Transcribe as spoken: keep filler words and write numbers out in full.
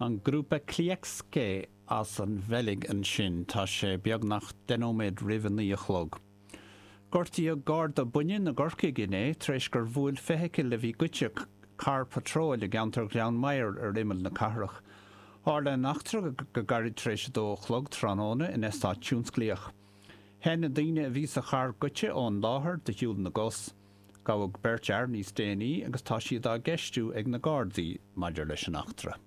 An grúpa Klieksche as an Bheilg ansin, tá sé beagnach deich nóiméad roimh a naoi a chlog. Gortaíodh garda baineann i gCorcaigh inné tar éis gur bhuail feithicil a bhí goidte carr patróil i gceantar Ghleann Maghair ar imeall na cathrach. Tharla an eachtra go gairid tar éis a dó a chlog tráthnóna in eastát tionsclaíoch. Theith na daoine a bhí sa charr goidte ón láthair de shiúl na gcos. Gabhadh beirt fhear níos déanaí agus tá siad á gceistiú ag na Gardaí maidir leis an eachtra.